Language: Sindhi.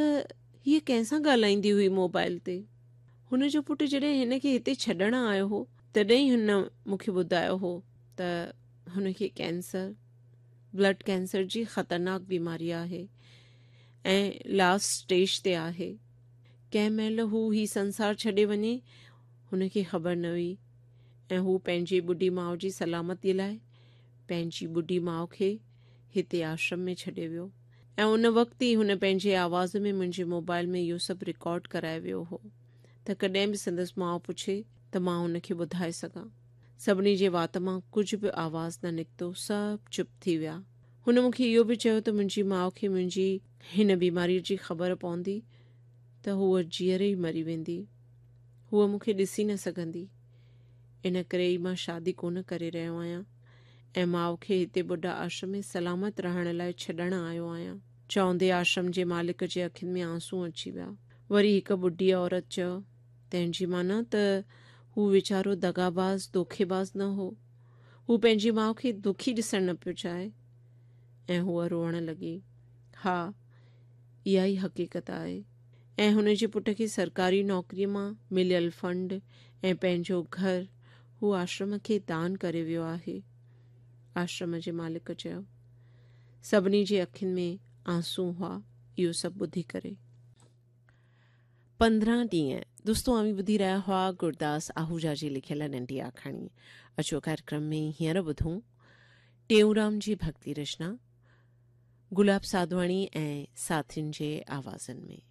ته هيء ڪنهن سان ڳالهائيندي هئي موبائل تي. هن جو پٽ جڏهن هن کي هتي ڇڏڻ آيو هو تڏهن ئي هن مون کي ٻڌايو هو ته هن کي ڪينسر، بلڊ ڪينسر جي خطرناڪ بيماري آهي ۽ لاسٽ اسٽيج تي آهي. ڪنهن مهل هو هي سنسار ڇڏي وڃي هن کي خبر نه هئي ۽ هو پنهنجي ٻڍي ماء جي سلامتي لاء پنهنجي ٻڍي ماء کي هتي آشرم ۾ ڇڏي ويو ۽ ان وقت ئي هن پنهنجي آواز ۾ منهنجي موبائل ۾ اهو سڀ رڪارڊ ڪرائي ويو هو ته ڪڏهن به سندس ماء پڇي ته مان هن کي ٻڌائي سگهان. سڀني جي وات مان ڪجهه به آواز نه نڪتو، سڀ چپ ٿي ويا. هن مون کي اهو به چيو ته منهنجي ماء کي منهنجي هن بيماريء جي خبر پوندي ته هوء جيئري ئي مري ويندي. هوء مون کي ڏسي نه سگهندي. ان ڪري ئي مان شادي ڪونه ڪري رهيو آهيان ۽ ماء کي هتي ٻڍا آشرم ۾ سلامت رهڻ لاء ڇڏڻ آيو آهيان. چوندي آشرم جي مالڪ جي اکين ۾ آنسون اچي ويا. وري هڪ ٻڍي عورت چيو، تنهن جي معنيٰ ته هو ويچارو دغاباز، دوکيباز نه هو. هو پنهنجي ماء کي دکي ڏسڻ نه پيو چاهي. ۽ هوء روئڻ لڳي. ها، اها ئي حقيقت آهي. ۽ هن جي پٽ کي سرڪاري نوڪريء مان مليل فنڊ ۽ پنهنجو گهر هو آشرم کي دان ڪري ويو آهي. آشرم جي مالڪ چيو. سڀني جي اکين ۾ آنسون هئا اهو سڀ ٻڌي ڪري. 15 ڏينهن دوستو اوهين ٻڌي رهيا هئا گرداس آهوجا جي لکيل ننڍي آکاڻي. اچو ڪاريڪرم ۾ هينئر ٻڌون ٽيئونرام جي ڀڳتي رچنا گلاب ساڌواڻي ۽ ساٿين جي آوازن ۾.